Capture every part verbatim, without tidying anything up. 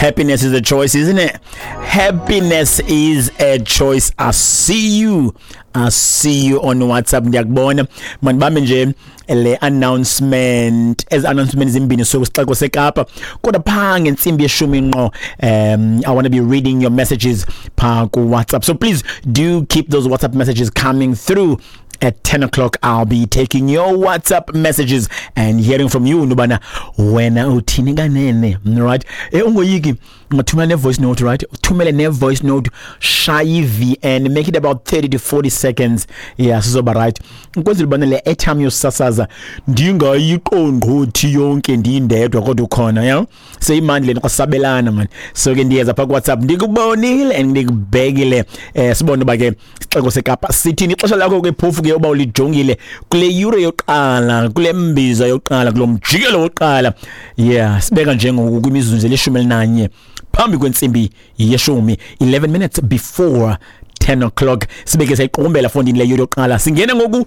Happiness is a choice, isn't it? Happiness is a choice. I see you. I see you on WhatsApp. Ndiyakubona. Mandibambe nje le announcement, ezi announcement zimbini so sixeko seKapa, kodwa phaa ngentsimbi yeshumi ngqo, um I want to be reading your messages phaa ku WhatsApp, so please do keep those WhatsApp messages coming through. At ten o'clock I'll be taking your WhatsApp messages and hearing from you nobana wena uthini kanene, right? Eh, ungoyiki, ungathumela ne voice note, right? Uthumele ne voice note, shaya V N, make it about thirty to forty seconds. Yeah, sizoba right ukwenzela ubana le airtime yosasaza ndingayiqongqothi yonke ndindedwa, kodwa ukhona, yeah, seyimandi le kwasabelana man. So ke ndiyeza pha ku WhatsApp, ndikubonile and ndikubhekile. Eh, sibone uba ke isixeko seKapa sithini. Ixesha lakho ke phofu ke uba ulijongile kule yure yokuqala, kule mbiza yokuqala, kulo mjikelo wokuqala, yeah, sibeka njengoku kwimizuzu elishumi elinanye phambi kwentsimbi yeshumi, eleven minutes before ten o'clock. Sibeke sayiqukumbela fondini le yure yokuqala, singene ngoku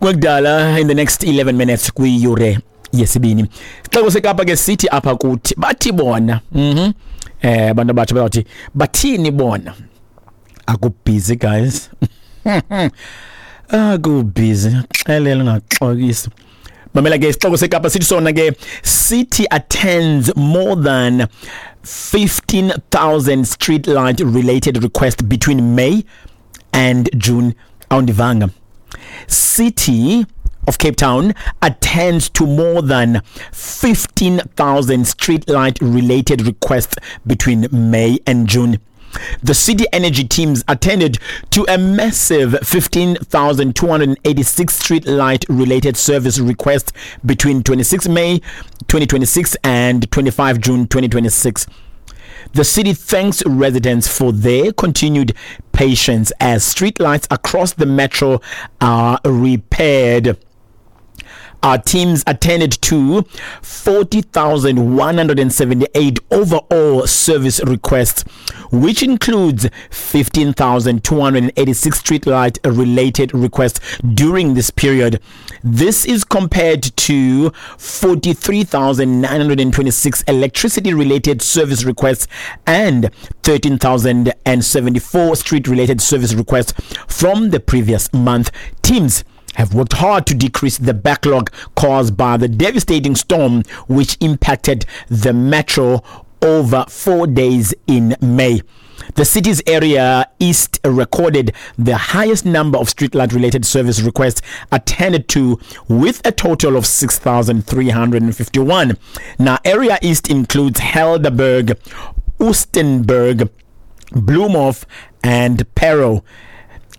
kwekudala in the next eleven minutes kwiyure yesibini. Sixeko seKapa ke sithi apha kuthi bathi bona, mhm eh abantu abatsha bathi bathini bona? Akubusy guys, akubusy, xelela ungaxokisi. Mamela ke, isixeko seKapa sithi sona ke city attends more than fifteen thousand street light related requests between May and June. Awundivanga? City of Cape Town attends to more than fifteen thousand street light related requests between May and June. The city energy teams attended to a massive fifteen thousand two hundred eighty-six street light related service requests between twenty-six May twenty twenty-six and twenty-five June twenty twenty-six. The city thanks residents for their continued patience as streetlights across the metro are repaired. Our teams attended to forty thousand one hundred seventy-eight overall service requests, which includes fifteen thousand two hundred eighty-six streetlight related requests during this period. This is compared to forty-three thousand nine hundred twenty-six electricity related service requests and thirteen thousand seventy-four street related service requests from the previous month. Teams have worked hard to decrease the backlog caused by the devastating storm which impacted the metro over four days in May. The city's Area East recorded the highest number of streetlight related service requests attended to, with a total of six thousand three hundred fifty-one. Now, Area East includes Helderberg, Oostenberg, Bloemhof, and Parow.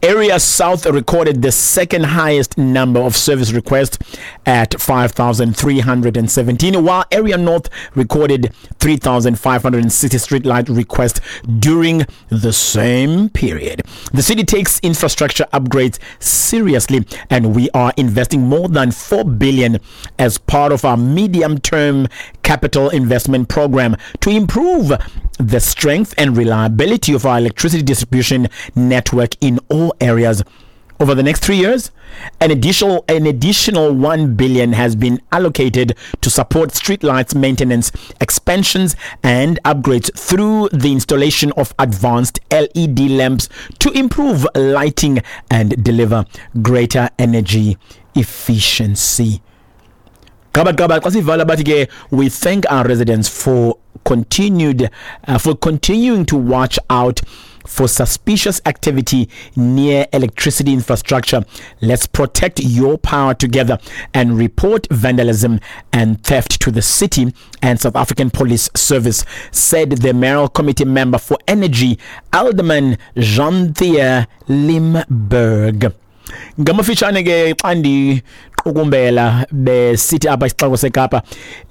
Area South recorded the second highest number of service requests at five thousand three hundred seventeen, while Area North recorded three thousand five hundred sixty streetlight requests during the same period. The city takes infrastructure upgrades seriously, and we are investing more than four billion as part of our medium-term capital investment program to improve the strength and reliability of our electricity distribution network in all areas. Over the next three years, an additional an additional one billion has been allocated to support streetlights maintenance, expansions and upgrades through the installation of advanced L E D lamps to improve lighting and deliver greater energy efficiency. Gaba gaba xa sivala bathi ke we thank our residents for continued uh, for continuing to watch out for suspicious activity near electricity infrastructure. Let's protect your power together and report vandalism and theft to the city and South African Police Service, said the mayoral committee member for energy, Alderman Jean-Pierre Limburg. Ngamafitshane ke xa ndiqukumbela, besithi apha isixeko seKapa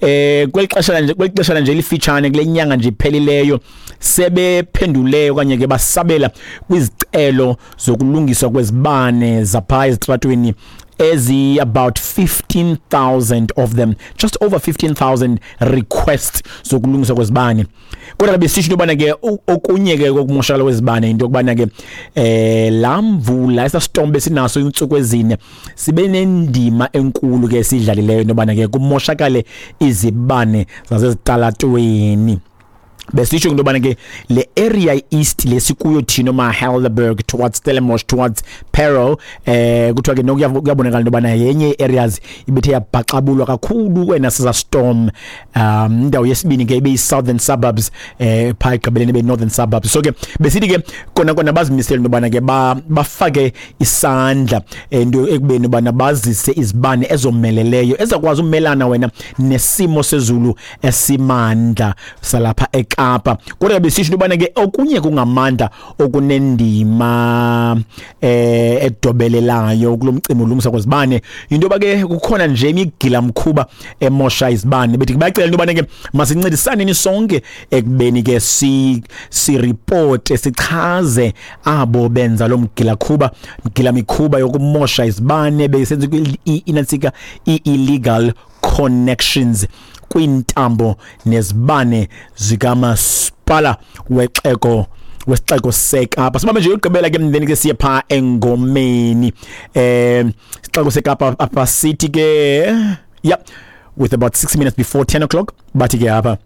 eh kweli xesha nje kweli xesha nje lifitshane, kule nyanga nje iphelileyo, sebephendule okanye ke basabela kwizicelo zokulungiswa kwezibane zapha ezitratweni ezi about fifteen thousand of them, just over fifteen thousand requests zokulungiswa kwezibane. Kodwa ke besisho into yobana ke okunye ke kokumoshakala kwezibane into yokubana ke eh la mvula, esa storm besinaso iintsuku ezine, sibe nendima enkulu ke sidlalileyo into yobana ke kumoshakale izibane zasezitalatweni. Besisho into yobana ke le area east lesikuyo thina ma Helderberg towards Stellenbosch towards Parow, eh kuthiwa ke nokuyabonakala into yobana yenye areas ibethe yabhaxabulwa kakhulu wena siza storm. um indawo yesibini ke ibe southern suburbs, eh pha egqibeleni ibe northern suburbs. So ke besithi ke kona kona bazimisele into yobana ke bafake isandla into ekubeni bana bazise izibane ezomeleleyo ezakwazi umelana wena nesimo sezulu esimandla salapha eKapa. Kodwa besisho into yobana ke okunye kungamandla okunendima eh edobelelayo kulomcimbi olungisa kwezibane, into yoba ke kukhona nje imigila mkhuba emosha izibane. Bethi bayacela into yobana ke masincedisaneni sonke ekubeni ke si si report sichaze abo benza lo mgila khuba mgila mikhuba yokumosha izibane besenza inansika i-illegal connections kwintambo nezibane zikamasipala wexeko wesixeko seKapa. Sibambe nje ugqibela ke mndeni ke siye pha engomeni. Eh isixeko seKapa apha city ke, yep, with about six minutes before ten o'clock bathi ke apha,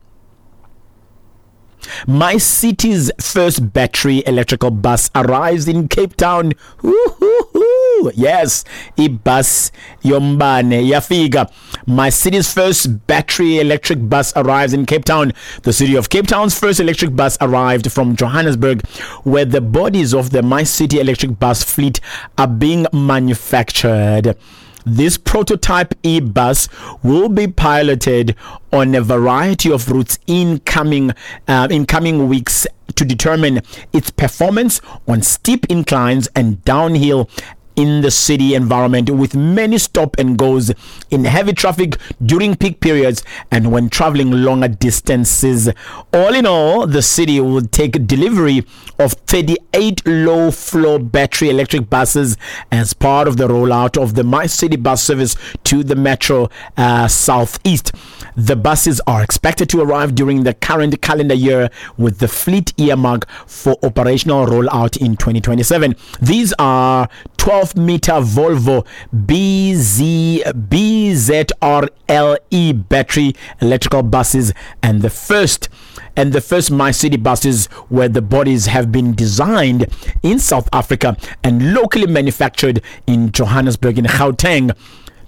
My city's first battery electrical bus arrives in Cape Town. Woo-hoo-hoo. Yes, ibus yombane yafika. My city's first battery electric bus arrives in Cape Town. The city of Cape Town's first electric bus arrived from Johannesburg, where the bodies of the My City electric bus fleet are being manufactured. This prototype e-bus will be piloted on a variety of routes in coming, uh, in coming weeks to determine its performance on steep inclines and downhill in the city environment, with many stop and goes in heavy traffic during peak periods and when traveling longer distances. All in all, the city will take delivery of thirty-eight low-floor battery electric buses as part of the rollout of the My City bus service to the metro uh, southeast. The buses are expected to arrive during the current calendar year, with the fleet earmark for operational rollout in twenty twenty-seven. These are twelve meter Volvo B Z B Z R L E battery electrical buses, and the first and the first My City buses where the bodies have been designed in South Africa and locally manufactured in Johannesburg in Gauteng.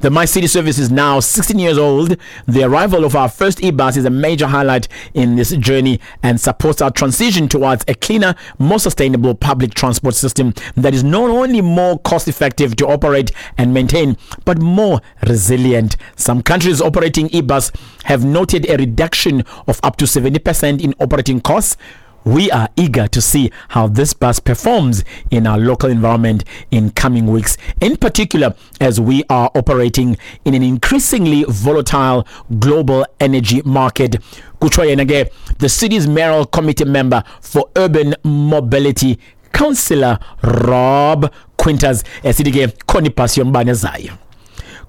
The My City service is now sixteen years old. The arrival of our first e-bus is a major highlight in this journey and supports our transition towards a cleaner, more sustainable public transport system that is not only more cost-effective to operate and maintain, but more resilient. Some countries operating e-bus have noted a reduction of up to seventy percent in operating costs. We are eager to see how this bus performs in our local environment in coming weeks, in particular as we are operating in an increasingly volatile global energy market. Kutsho yena ke, the city's mayoral committee member for urban mobility, Councillor Rob Quinters, esithi ke khona ibhasi yombane ezayo.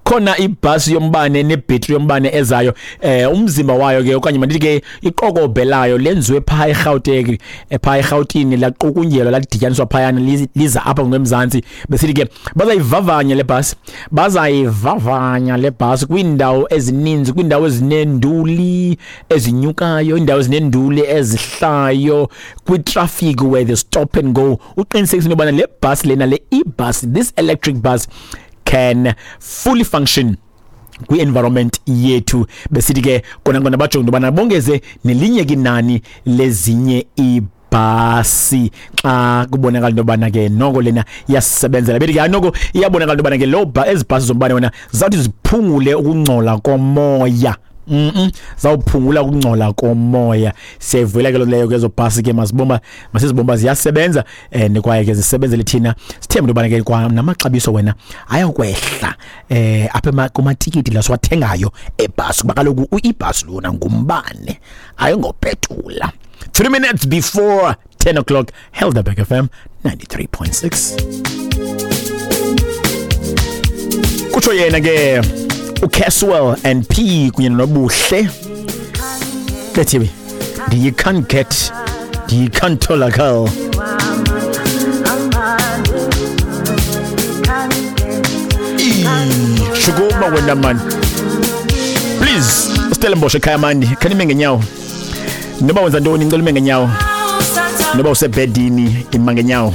Khona ibhasi yombane nebhetri yombane ezayo, eh umzimba wayo ke okanye mandithi ke iqokobhe layo lenziwe pha eGauteng, pha eGautini laqukunjelwa ladityaniswa phayana liza apha ngemzantsi. Besithi ke bazayivavanya le bhasi, bazayivavanya le bhasi kwiindawo ezininzi, kwiindawo ezinenduli ezinyukayo, iindawo ezinenduli ezihlayo, kwi-traffic where the stop and go. Uqinisekisa into yobana le bhasi lena, le e-bus, this electric bus can fully function kwi-environment yethu. Besithi ke kona kona bajonge into yobana bongeze nelinye kinani lezinye ibhasi xa kubonakala into yobana ke noko lena iyasebenzela. Bethi ke noko iyabonakala into yobana ke lo ezi bhasi zombane wena zawuthi ziphungule ukungcola komoya. Mm-mm. Zawuphungula ukungcola komoya. Siyayivuyela ke leyo ke ezo bhasi ke, masibomba masizibomba ziyasebenza and kwaye ke zisebenzele thina. Sithembe into yobana ke kwa namaxabiso wena ayakwehla eh apha kumatikiti la siwathengayo ebhasi, kuba kaloku ibhasi lona ngumbane ayingopetula. Three minutes before ten o'clock, Helderberg F M ninety-three point six. Kutsho yena ke uCaswell and P kunye noBuhle bethi you can't get you can't tell a girl. Shukuma wena man, please Stellenbosch ekhaya mani khanime ngenyawo. Noba wenza ntoni, ngicela ume ngenyawo. Noba usebhedini, ima ngenyawo.